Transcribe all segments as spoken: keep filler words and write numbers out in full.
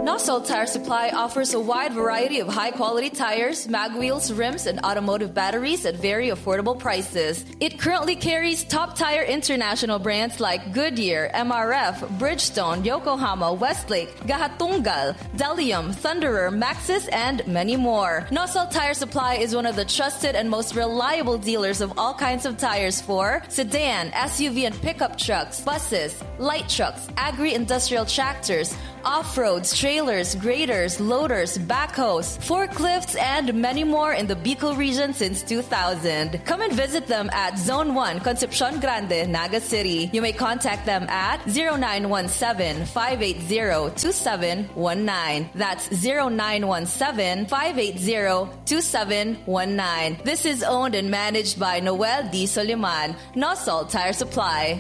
Nosol Tire Supply offers a wide variety of high-quality tires, mag wheels, rims, and automotive batteries at very affordable prices. It currently carries top tire international brands like Goodyear, M R F, Bridgestone, Yokohama, Westlake, Gahatunggal, Delium, Thunderer, Maxxis, and many more. Nosol Tire Supply is one of the trusted and most reliable dealers of all kinds of tires for sedan, S U V, and pickup trucks, buses, light trucks, agri-industrial tractors, off-roads, trailers, graders, loaders, backhoes, forklifts, and many more in the Bicol region since two thousand. Come and visit them at Zone one, Concepcion Grande, Naga City. You may contact them at zero nine one seven, five eight zero, two seven one nine. That's zero nine one seven, five eight zero, two seven one nine. This is owned and managed by Noel D. Soliman, Nosol Tire Supply.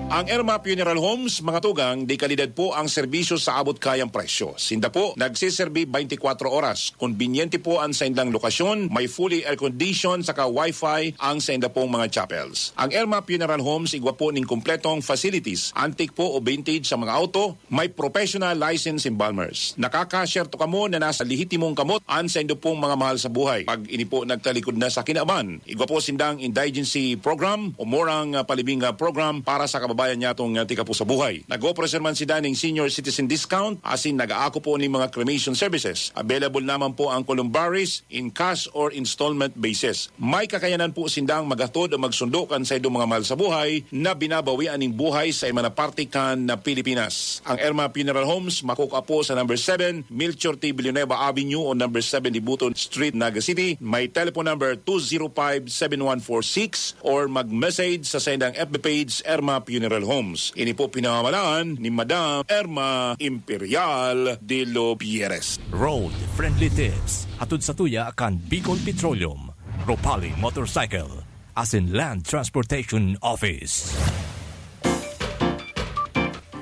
Ang Erma Funeral Homes, mga tugang, de kalidad po ang serbisyo sa abot kayang presyo. Sinda po nagsiserbi twenty-four oras. Konbinyente po ang saindang lokasyon, may fully air-conditioned saka wifi ang sainda pong mga chapels. Ang Erma Funeral Homes igwa po ning kompletong facilities, antique po o vintage sa mga auto, may professional license embalmers. Nakakasyerto kamo na nasa lehitimong kamot ang saindo pong mga mahal sa buhay. Pag ini po nagtalikod na sa kinaban, igwa po sindang indigency program o murang ah, palibing ah, program para sa kababayan nyatong ah, tika po sa buhay. Nag-opreser man sinda ning senior citizen discount, asin nag-aako po ning mga cremation services. Available naman po ang columbaries in cash or installment basis. May kakayanan po sindang maghatod o magsundo kan saindong mga mahal sa buhay na binabawian ning buhay sa iba na parte kan na Pilipinas. Ang Erma Funeral Homes makukua po sa number seven Melchor T. Villanueva Avenue o number seven Dibuton Street, Naga City. May telephone number two zero five seven one four six or mag-message sa saindang F B page, Erma Funeral Homes. Ini po pinamamalaan ni Madam Erma Imperial de los Pierres. Road Friendly Tips, hatod sa tuya kan Bicol Petroleum, Ropali Motorcycle, asin Land Transportation Office.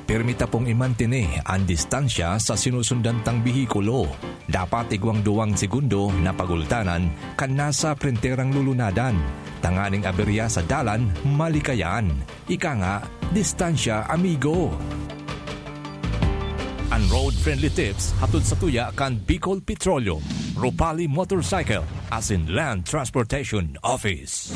Pirmi ta pong imantene an distansya sa sinusundan tang behikulo. Dapat igwang duwang segundo na pagultanan kan nasa prenterang lulunadan, tanganing aberya sa dalan malikayan. Ika nga, distansya, amigo. An Road Friendly Tips hatod sa tuya kan Bicol Petroleum, Ropali Motorcycle, asin Land Transportation Office.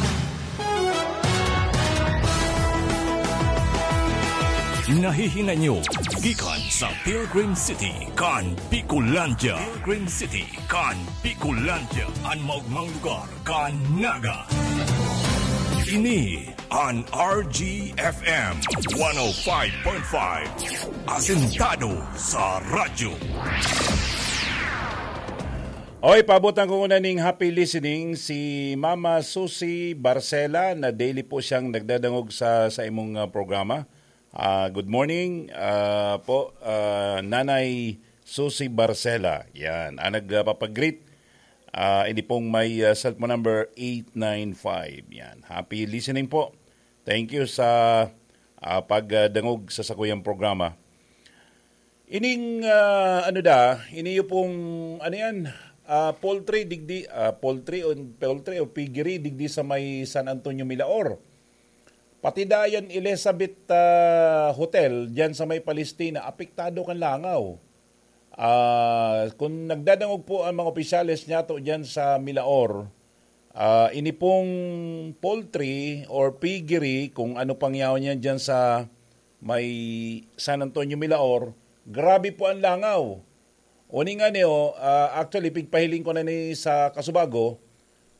Nahihinay nyo gikan sa Pilgrim City kan Bicolandia. Pilgrim City kan Bicolandia, an maogmang lugar kan Naga. Ini an R G F M one oh five point five, asentado sa radyo. Oy, paabotan ko una ning happy listening si Mama Susie Barcela na daily po siyang nagdadangog sa sa imong ah, programa. Ah, good morning ah, po, ah, Nanay Susie Barcela. Yan, ang nagpapag-greet. Ah, ini pong may ah, cellphone number eight nine five. Yan, happy listening po. Thank you sa ah, pagdangog sa sakuyang programa. Ining ah, ano da, iniyo pong ano yan, ah, poultry digdi, ah, poultry o poultry o piggery digdi sa may San Antonio Milaor. Pati dayan Elizabeth ah, Hotel diyan sa may Palestina, apektado kan langaw. Ah, kung nagdadangog po ang mga opisyales niyato diyan sa Milaor, ah, ini pong poultry or piggery, kung ano pang yaon yan diyan sa may San Antonio Milaor, grabe po ang langaw. Uning ani, oh, ah, actually, pigpahiling ko na ni sa Kasubago,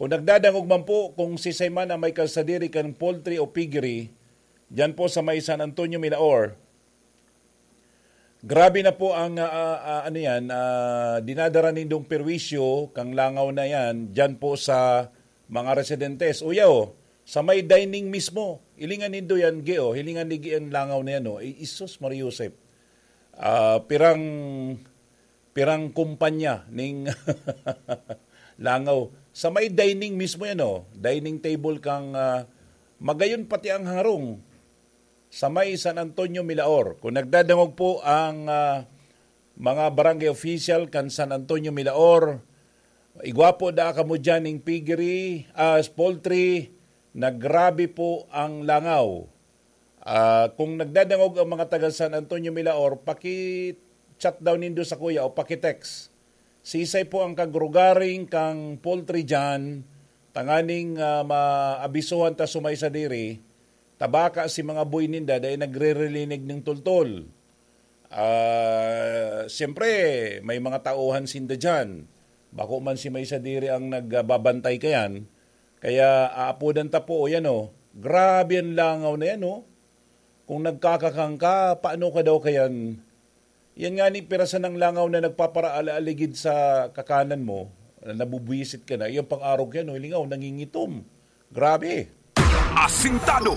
kung nagdadangog man po kung sisay man ang may kalsadiri kan poultry o piggery, diyan po sa may San Antonio Milaor, grabe na po ang ah, ah, ah, ano yan, ah, dinadara nindong perwisyo kang langaw na yan diyan po sa mga residentes. Uyaw, sa may dining mismo, hilingan nindo yan, Gio, hilingan ni Gian langaw na yan, oh. I- Isus Maria Josep. Ah, pirang pirang kumpanya ning langaw. Sa may dining mismo yan, oh. Dining table kang ah, magayon pati ang harong sa may San Antonio Milaor. Kung nagdadangog po ang ah, mga barangay official kan San Antonio Milaor, igwa po da kamo dyan ning piggery, ah, poultry, na grabe po ang langaw. Ah, kung nagdadangog ang mga taga San Antonio Milaor, paki chat daw nindo sa kuya o paki-text. Sisay po ang kagrugaring kang poultry dyan, tanganing, ah, maabisohan ta sumay sa diri, tabaka si mga buy ninda dahil nagre-relinig ng tultol. Ah, siyempre, may mga tauhan sinda dyan. Bako man si may sa diri ang nagbabantay kayan. Kaya aapodan ta po, o yan o. Grabe ang langaw na yan o. Kung nagkakakang ka, paano ka daw kayan? Yan nga ni pirasan ng langaw na nagpaparaaligid sa kakanan mo, na nabubwisit ka na, iyang pang-arog yan, o, lingaw, nangingitom. Grabe. Asintado.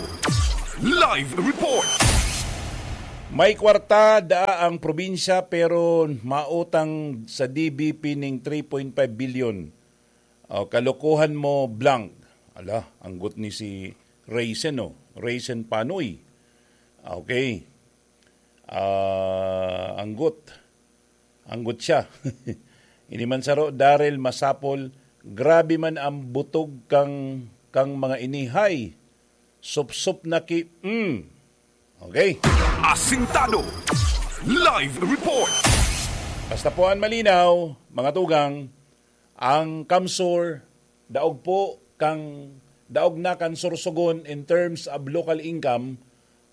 Live report. May kwarta daa ang probinsya pero mautang sa D B P ning three point five billion. O, kalokohan mo, blank. Ala, anggot ni si Raisin, oh. Raisin Panoy. Okay. Ah, anggot. Anggot siya. Ini man saro, Daryl Masapol, grabe man ang butog kang, kang mga inihay. Supsup na ki-, mm. Okay. Asintado. Live report. Basta po ang malinaw, mga tugang, ang CamSur, daog po kang, daog na kan Sorsogon in terms of local income,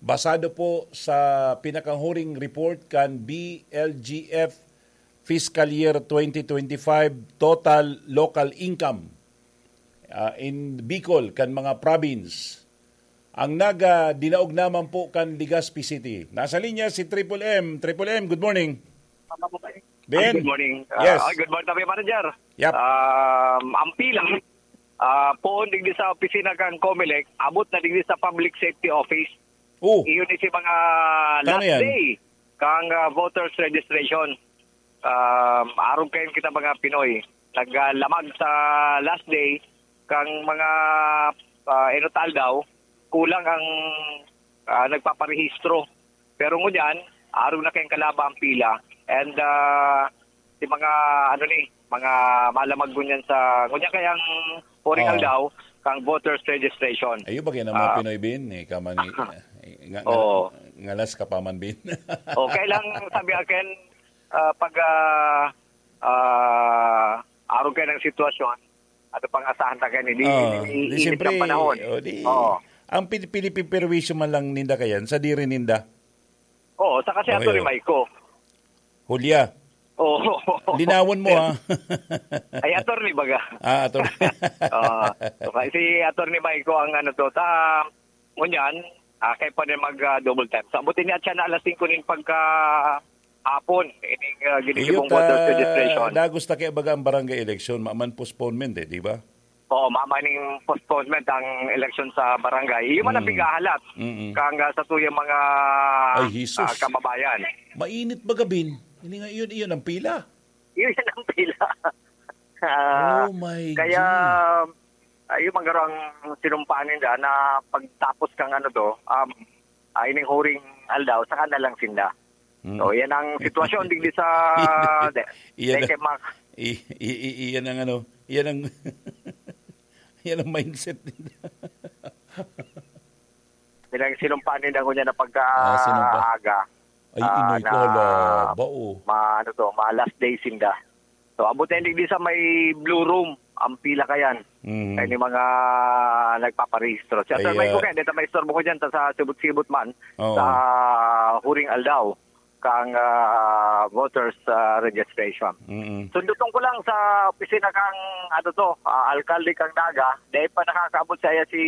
basado po sa pinakahuring report kan B L G F fiscal year twenty twenty-five total local income, ah, in Bicol kan mga province. Ang naga dinaog naman po kan Legazpi City. Nasa linya si Triple M. Triple M, good morning. Ay, Ben? Good morning. Ah, Yes. Ay, good morning, Tabi Manager. Yep. Um, ang pilang, ah, poon digdi sa opisina kang Comelec, abot na digdi sa Public Safety Office. Oh. Iyon is yung mga Kano last yan? Day kang, ah, voters registration. Um, arog kayo kita mga Pinoy. Naglamag sa last day kang mga, ah, enot aldaw, kulang ang, ah, nagpaparehistro. Pero ngunyan, arog na kayong kalaba ang pila. And, ah, si mga, ano ni, mga malamag ngunyan sa, ngunyan kayang puring Oo. aldaw, kang voters registration. Ayun ba kaya ng mga Ah. Pinoy, Bin? Eh, ka man, eh, nga, nga, Oo. ngalas ka pa man, Bin. Okay lang, sabi akin, ah, pag, ah, ah, arog kayo ng sitwasyon, ano pang asahan na kayo, di, Oo. di, Di, init siyempre, ng panahon. oh, di, Oo. ang pin-, pinipiperwisyo man lang ninda kayan, sa diri ninda. Oo, saka si Okay, Atty. oh. Maiko. Hulya. Oo. Linawon mo, ha? Ay, attorney baga. Ah, attorney. Oo. So, kaya si Attorney Maiko ang ano to, sa, ngunyan, ah, kaya pa rin mag, ah, double time. So, abutin niya siya na alas singko nin pagka hapon, ining, ah, ginigibong Iyot, voters ah, registration. Dagos na kaya baga ang barangay election, maman postponement eh, di ba? Oo, mamaning postponement ang election sa barangay. Iyo man ang Mm. pighahalat Mm-mm. kang, ah, sa tuyang mga, Ay, Jesus. ah, kababayan. Mainit ba gabin? Hindi nga, iyon, iyon ang pila. Iyon ang pila. Ah, Oh my kaya, G. ayun, magaro ang sinumpaan ninda na pagtapos kang ano to, um, ah, ining huring aldaw, saka na lang sinda. Mm. So, yan ang sitwasyon digdi sa Iyan de-, ang, Deke Mac. i-, i-, i-, iyan ang ano, iyan ang, iyan ang mindset nila. Yan ang sinumpaan nila ngunyan na pagka Ah, sinumpa. aga. Ay, Ah, inoy ko, na hala, bao. ma-, ano to, ma-last day sinda. So, abot na digdi sa may Blue Room, ang pila kayan. Mm. Kaya ni mga nagpaparehistro. Si Attorney Ay, Mike ah, Kuken, dito may istorbo ko dyan, ta sa sibot-sibot man, Oo. sa huring aldaw, kang, ah, voters, ah, registration. Mm-mm. Sundutong ko lang sa opisina kang, ano to, ah, alkalde kang Naga, dahil pa nakakaabot sa iya si,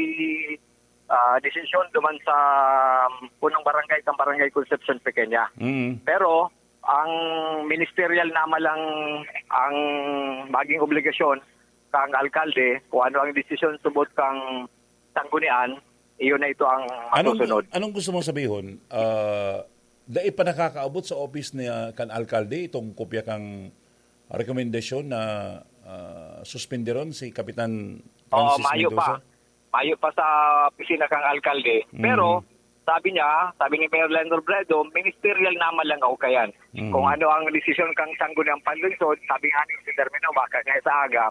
ah, desisyon duman sa, um, punong barangay, kang Barangay Concepcion Pequeña. Mm. Pero, ang ministerial naman lang ang maging obligasyon kang alkalde, kung ano ang desisyon subot kang sanggunian, iyon na ito ang Anong, masusunod. anong gusto mong sabihon? Ah, dai pa nakakaabot sa office niya kan alkalde itong kopya kang rekomendasyon na, ah, suspenderon si Kapitan Oo, Francis mayo Mendoza? pa. Mayo pa sa opisina kang alkalde. Mm. Pero, sabi niya, sabi ni Mayor Leonard Robredo, ministerial naman lang ako kayan. Mm. Kung ano ang desisyon kang sangguniang panlungsod, sabi nga ni si Termino, baka niya sa aga,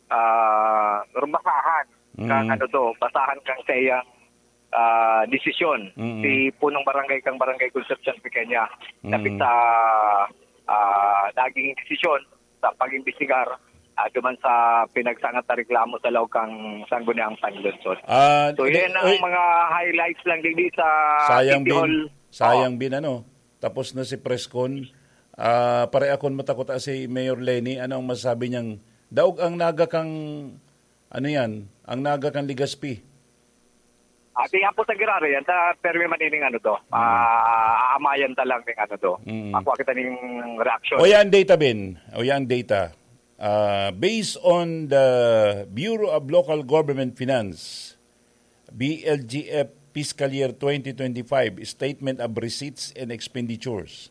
ah, rumbasahan kang Mm. ano to, basahan kang sa iyang, ah, desisyon. Mm. Si punong barangay kang Barangay Concepcion Pequeña, dapit Mm. sa ah, naging desisyon sa pag-imbestigar, ah, duman sa pinagsangat na reklamo sa laog kan Sangguniang Panlungsod. Ah, So, di- yan ang oy. mga highlights lang digdi sa Sayang City bin, Hall. Sayang Oh. bin, ano, tapos na si press con. Ah, pareakon matakot si Mayor Leni. Ano ang masasabi niyang daog ang Naga kang, ano yan, ang Naga kang Legazpi? Ati hapo sa Gerardo yan, ta permi man ining ano to, Hmm. ah, aamayan ta lang ning ano to. Hmm. Makuha kita ning reaction. O yan data, Ben. O yan data. Ah, based on the Bureau of Local Government Finance, B L G F fiscal year twenty twenty-five statement of receipts and expenditures,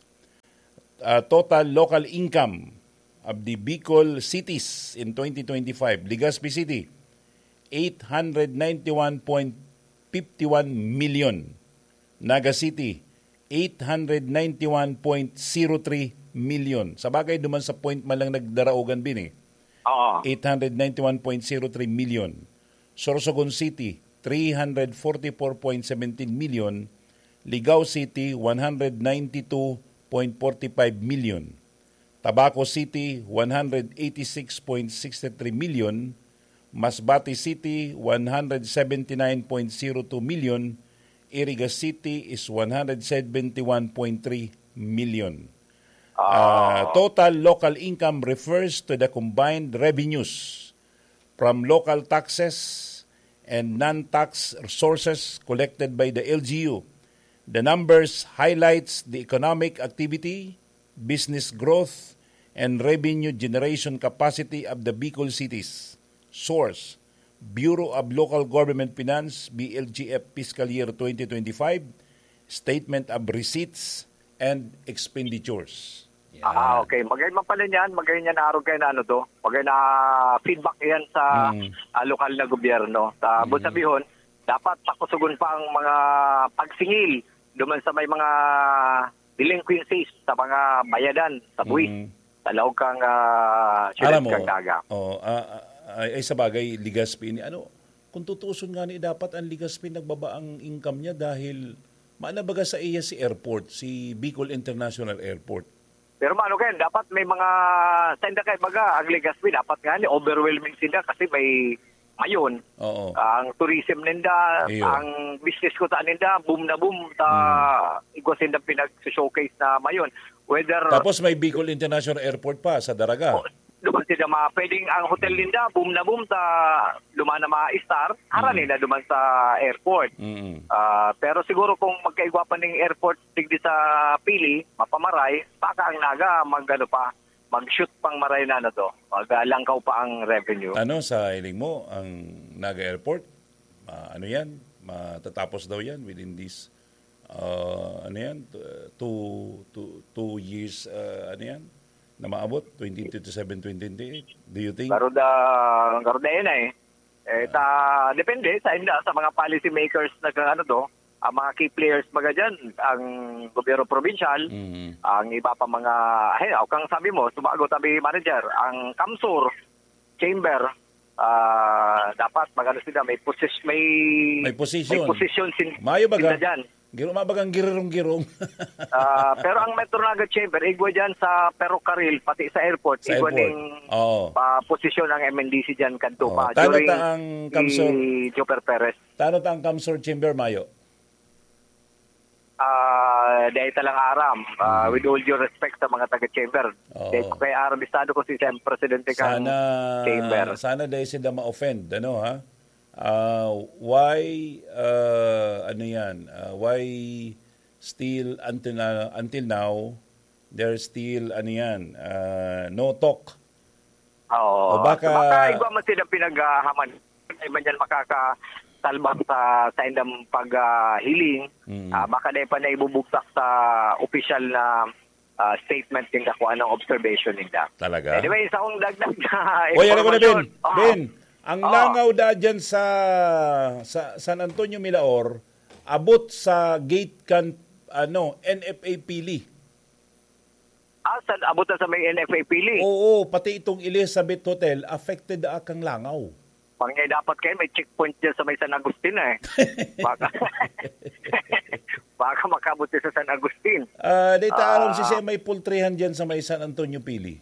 ah, total local income of the Bicol cities in twenty twenty-five, Legazpi City, eight hundred ninety-one point fifty-one million. Naga City, eight hundred ninety-one point zero three million. Sa bagay, duman sa point man lang nagdaraogan, Bin, eh. Oo. Eight hundred ninety-one point zero three million. Sorsogon City, three hundred forty-four point seventeen million. Ligao City, one hundred ninety-two point forty-five million. Tabaco City, one hundred eighty-six point sixty-three million. Masbate City, one hundred seventy-nine point zero two million. Iriga City is one hundred seventy-one point three million. Ah, Ah. total local income refers to the combined revenues from local taxes and non-tax resources collected by the L G U. The numbers highlights the economic activity, business growth, and revenue generation capacity of the Bicol cities. Source, Bureau of Local Government Finance, B L G F, fiscal year twenty twenty-five, statement of receipts and expenditures. Yan. Ah, okay. Magay man pala niyan, magay niyan arog kayo na ano to. Magay na feedback yan sa, Mm. ah, lokal na gobyerno. Sa Mm. Bonsabihon, dapat pakusugon pa ang mga pagsingil duman sa may mga delinquencies sa mga bayadan sa buwis Mm. sa laog kang, ah, siyudad Alam mo, kang Naga. Oo, ah, ah, ay, ay, sa bagay, Legazpi ini, ano, kung tutuuson nga ni, dapat ang Legazpi nagbaba ang income niya dahil maana baga sa iya si airport, si Bicol International Airport. Pero mano kayan, dapat may mga, sa inda kay baga, ang Legazpi, dapat nga ni overwhelming sila kasi may Mayon. Oo. Ang tourism ninda, Iyo. ang business ko sa ninda, boom na boom sa Mm. igwa sinda pinag-showcase na Mayon. Whether Tapos may Bicol International Airport pa sa Daraga. O, duman sila ma-, pwedeng ang hotel ninda, boom na boom sa duman na mga star, hara Mm. nila duman sa airport. Mm. Ah, pero siguro kung magkaigwa pa ning airport digdi sa Pili, mapamaray, baka ang Naga mag-ano pa, mag-shoot pang maray na ano to, mag, ah, langkaw pa ang revenue. Ano sa hiling mo, ang Naga Airport? Ah, ano yan? Matatapos daw yan within this, ah, ano yan? T-, two, two, two years, ah, ano yan? Na maabot, twenty twenty-seven, twenty twenty-eight. Do you think? Garuda, garuda yan eh. Eh, ta, depende sa inda, sa mga policy makers na kang ano to, ang mga key players baga dyan, ang gobyerno probinsyal, Mm. ang iba pa mga, ay, o kang sabi mo, sumagot sabi manager, ang Kamsur Chamber, ah, dapat magano sila, may posis-, may, May position. may position sin-, Mayo baga? sila dyan. Giro, mabagang girong-girong. Ah, pero ang Metro Naga Chamber, igwa dyan sa Perocaril, pati sa airport, Sa igwa airport. ning Oo. pa posisyon ang M N D C dyan, kadto Oo. pa, Tano during ta ang si Kamsur? Joper Perez. Tano ta ang Kamsur Chamber, Mayo? Ah, dahil talang aram, ah, Mm. with all due respect sa mga taga-chamber, Oo. dahil ko kay aram, estado ko si Sen Presidente kang Sana, Chamber. sana dahil sila ma-offend, ano, ha? Ah, why, ah, ano yan? Ah, why still until na, until now, there's still, ano yan, ah, no talk? Oo. O baka So, baka igwa man sila pinaghahaman. Ay man yan makakasalbang sa, sa indang pag, ah, hiling. Mm. Ah, baka dahil pa na ibubugtak sa opisyal na, ah, statement ninda kung anong observation ninda. Talaga? Anyway, sa akong dagdag na Oy, ano ko na, Ben? impormasyon. Ah. Ben, ang Oo. langaw da dyan sa, sa San Antonio Milaor, abot sa gate kan, ano, N F A Pili. Ah, sa, abot na sa may N F A Pili? Oo, pati itong Elizabeth Hotel, affected da kang langaw. Pangay dapat kayo may checkpoint dyan sa may San Agustin eh. Baka, baka makabot sa San Agustin. Ah, dito aron si Ah. Sir may pultrihan dyan sa may San Antonio Pili.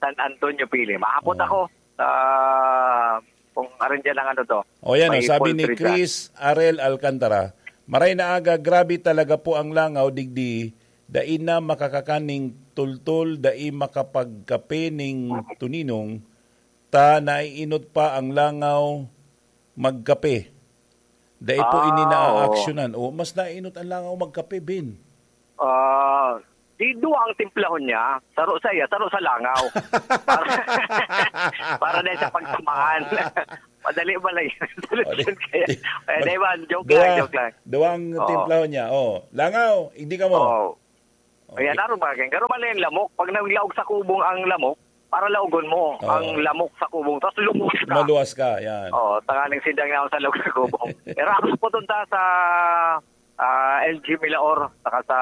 San Antonio Pili. Mahapot Oo. ako. Ah, kung aron dyan ang ano to. O yan, May oh, sabi ni poultry dyan. Chris Arel Alcantara, "Maray na aga, grabe talaga po ang langaw, digdi, dai na makakakan ning tultol, dai makapagkape ning tuninong, ta naiinot pa ang langaw magkape. Dai po ini Ah, oo. naaaksyonan." O, mas naiinot ang langaw magkape, Bin. Ah, di duwa ang timplahon niya. Saro sa iya, saro sa langaw. Para, para na sa pagsamaan. Madali ba lang yun? O, di, Solusyon kaya. di, Eh, di ba? Joke lang, duwa, joke lang. duwang Oo. timplahon niya. Oh, langaw, hindi ka mo. Oo. Okay. Ayan, araw ba? Garo man na yung lamok. Pag naglaog sa kubong ang lamok, para laogon mo Oo. ang lamok sa kubong. Tapos lumuwas ka. Maluwas ka, yan. Oo, tanganing sindang na ako sa loob sa kubong. Pero ako pupunta sa ah, L G Milaor, saka sa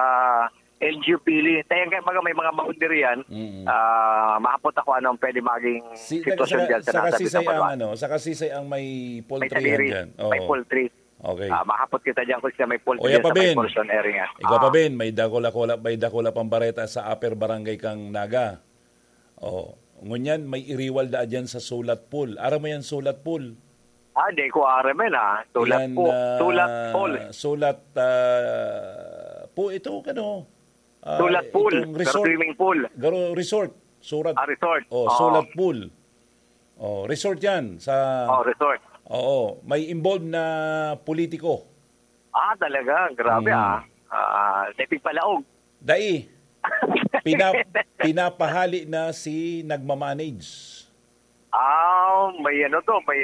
L G Pili. Tayo nga, mga, may mga boundary yan. Mm. Ah, mahapot ako anong pwede maging Si, sitwasyon saka, dyan sa saka nasa sisay ang, Bitang ano, saka sisay ang may May poultry yan sadiri, dyan. Oo. may poultry. Okay. Ah, mahapot kita dyan kung sila may poultry O, yan dyan pa, sa may Ben. portion area. Ikaw pa, Ah. Ben, may dakula-kula, may dakula pang bareta sa Upper Barangay kang Naga. Oh, ngunyan, may iriwal da dyan sa Sulat Pool. Aram mo yan, Sulat Pool? Ah, di ko aram yan, ah. Sulat Yan, po. ah, Sulat Pool. Sulat, ah, po ito, ano? Ah, Sulat Pool. itong Pero resort. swimming pool. Garo resort. Surat. Ah, resort. Oh, Oo. Sulat Pool. Oh, resort yan sa Oh, resort. Oo, may involved na politiko. Ah, talaga. Grabe, Mm. ah. Ah, depig palaog. Dai. Pina-, pinapahali na si nagmamanage. Ah, may ano to, may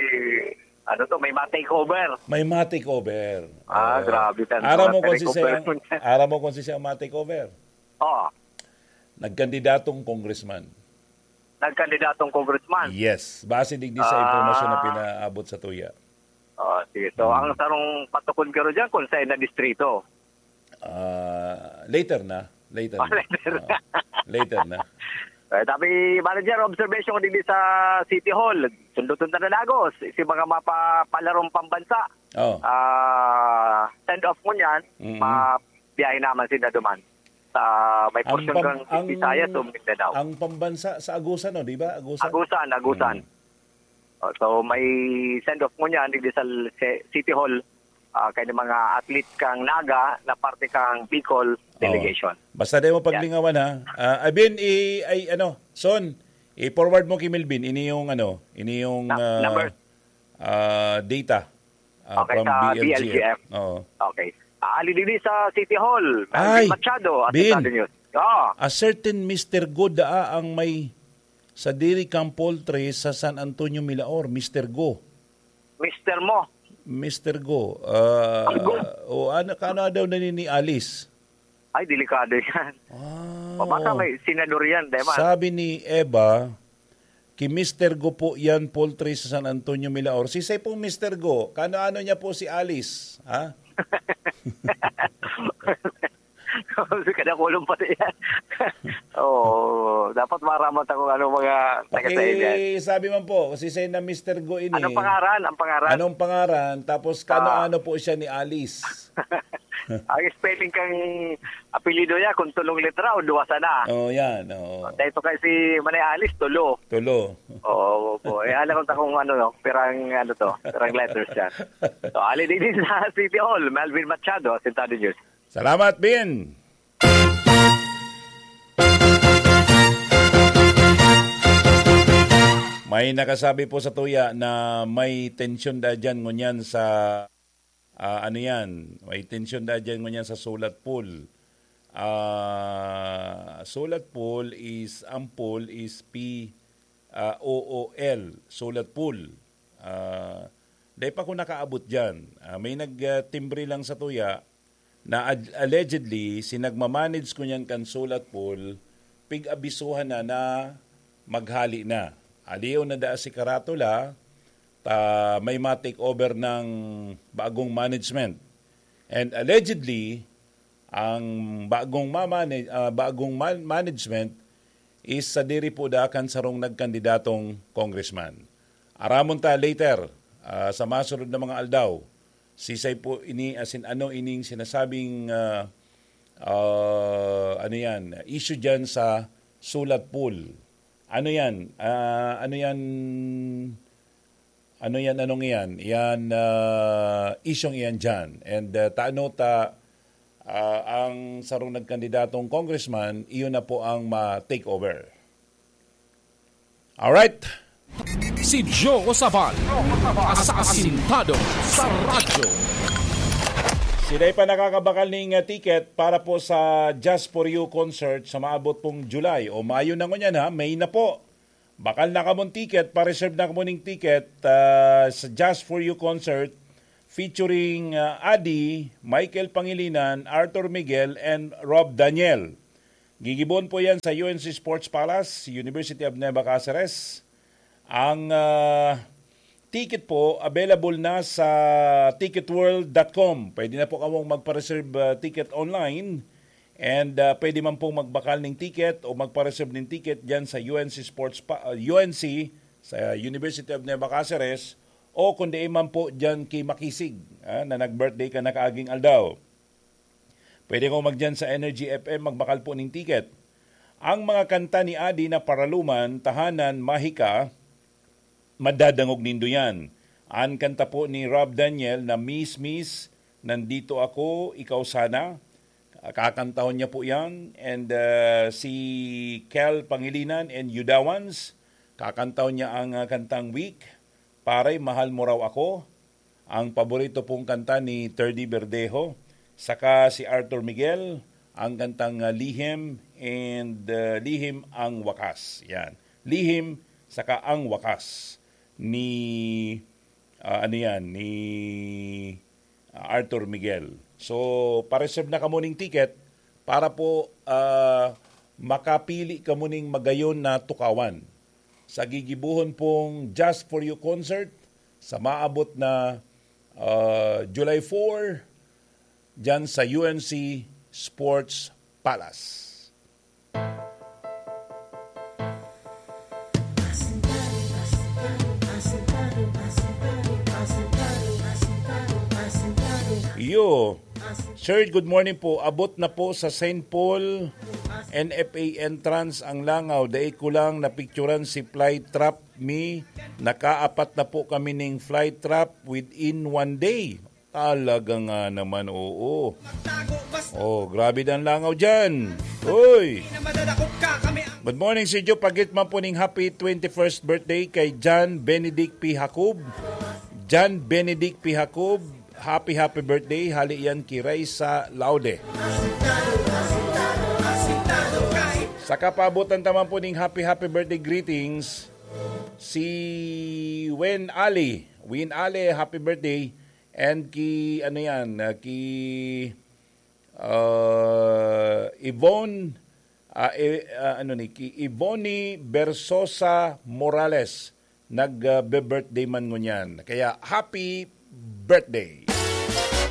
ano to, may ma-takeover. May ma-takeover. Ah, Oo. grabe ka, Aram mga mo kung si takeover siya, mo niya. aram mo kung si siya ma-takeover? Oo. Nagkandidatong congressman. Nagkandidatong congressman? Yes. Base digdi sa impormasyon na Ah. pinaabot sa tuya. Oh, sige. So, Hmm. ang sarong patukod garo dyan kung saan na distrito. Ah, later na. Later Oh, na. later na. Ah, later na. Eh, sabi, manager, observation ko digdi sa City Hall. Sunduton ta na lagos. Si mga mapapalarong pambansa. Oh. Ah, send off mo niyan, Mm. mabiyahe naman sila duman. Sa may Ang portion pam-, ng ang, Visayas o Mindanao. ang pambansa sa Agusan, no, di ba? Agusan? Agusan, Agusan. Mm. Oh, so, may send off mo niyan digdi sa l-, se-, City Hall. Ah, kaya ng mga athlete kang Naga na parte kang Bicol Oo. delegation. Basta di mo Yan. paglingawan, ha? Ah, Abin, i-, ay, ano, Son, i-forward mo kay Melvin, ini yung, ano, ini yung, Na-, ah, number. ah, data, ah, Okay, from sa B L G F. B L G F. Oo. Okay. Ah, ali digdi sa City Hall, Melvin Ay, Machado, Bin. Asistado News. Ah. A certain Mister Go daa ang may sadiri kang poultry sa San Antonio, Milaor, Mister Go. Mister mo. Mister Go, ah, Ang Go. o ano, kano daw na ni, ni Alice? Ay, delikado yan. Ah, O baka oo. may senador yan, di ba? Sabi ni Eva, "Ki Mister Go po yan, poultry sa San Antonio, Milaor." Si say pong Mister Go, kano-ano niya po si Alice, ha? Kasi kada kulong pati yan. Oo, dapat maramat ako ano mga taga sa yan. Okay, sabi man po, si say na Mister Go ini. Anong pangaran? Ang pangaran? Anong pangaran? Tapos Ah. kano-ano po siya ni Alice? Ang spelling kang apelyido niya, kung tulong letra o duwa sana. Oh, yan. Oh. Dahil ito kasi Manay Alice, tulo. Tulo. Oo, po. Eh, alam ko ta kung ano, no? Pirang, ano to? Pirang letters siya. So, ali din sa City Hall, Melvin Machado, Asintado News. Salamat, Bin. May nakasabi po sa tuya na may tensyon da dyan ngunyan sa, ah, ano yan, may tensyon da dyan ngunyan sa Sulat Pool. Ah, Sulat Pool is, ang pool is P, ah, O O L, Sulat Pool. Ah, dai pa ko nakaabot dyan. Ah, may nag, ah, timbre lang sa tuya, na ad-, allegedly, si nagmamanage ko niyan kan Sulat Pool, pig-abisuhan na na maghali na. Aliw na daa si Karatula, ta may ma-take over ng bagong management. And allegedly, ang bagong mamane-, ah, bagong man-, management is sadiri po daa kan sarong nagkandidatong congressman. Aramon ta later, ah, sa masunod na mga aldaw. Sisay po ini, as in, ano ining sinasabing, ah, ah, ano yan, issue dyan sa Sulat Pool? Ano yan? Ah, ano yan? Ano yan? Anong yan? Yan, ah, isyong iyan dyan. And, ah, taano ta, ah, ang sarong nagkandidatong congressman, iyon na po ang ma-take over. Alright. Si Joe Sabal, asasintado sa radyo. Sila pa nakakabakal ning, ah, ticket para po sa Just For You concert sa maabot pong July o Mayo na ngunyan, ha, May na po. Bakal na kamong ticket, pa-reserve na kamo ning ticket, ah, sa Just For You concert featuring, ah, Adi, Michael Pangilinan, Arthur Miguel, and Rob Daniel. Gigibon po yan sa U N C Sports Palace, University of Nueva Caceres. Ang, ah, ticket po, available na sa ticket world dot com. Pwede na po kamong magpa-reserve, ah, ticket online. And, ah, pwede man pong magbakal ning ticket o magpa-reserve ning ticket dyan sa U N C Sports Pa-, ah, U N C, sa University of Nueva Caceres, o kung di man po dyan kay Makisig, ah, na nag-birthday ka nakaaging aldaw. Pwede kamo magdyan sa Energy F M, magbakal po ning ticket. Ang mga kanta ni Adi na Paraluman, Tahanan, Mahika, madadangog nindo yan. An kanta po ni Rob Daniel na Miss Miss, Nandito Ako, Ikaw Sana, kakantahon niya po yan. And, ah, si Kel Pangilinan and Yudawans, kakantahon niya ang, ah, kantang Weak, Paray, Mahal Mo Raw Ako, ang paborito pong kanta ni Terdy Verdejo, saka si Arthur Miguel, ang kantang, ah, Lihim and, ah, Lihim ang Wakas. Yan. Lihim saka ang Wakas ni, ah, ano yan, ni, ah, Arthur Miguel. So, pa-reserve na kamo ning ticket para po, ah, makapili kamo ning magayon na tukawan sa gigibohon pong Just For You concert sa maabot na, ah, July four, dyan sa U N C Sports Palace. Yo, Sir, good morning po. Abot na po sa Saint Paul N F A entrance ang langaw. Dai ko lang napicturan si fly trap mi. Nakaapat na po kami ning fly trap within one day. Talaga nga naman, oo. Oh, grabe dan langaw dyan. Uy! Good morning, Sir Joe. Pagit man po ning happy twenty-first birthday kay John Benedict P. Jacob. John Benedict P. Jacob, happy, happy birthday. Hali yan ki Raisa Laude. Sa kapabutan taman po ning happy, happy birthday greetings, si Wen Ali. Win Ale, happy birthday. And ki, ano yan, ah, ki, ah, Yvonne, ah, eh, ah, ano ni, ki Yvonne Bersosa Morales, nag, ah, be-birthday man ngunyan. Kaya, happy birthday.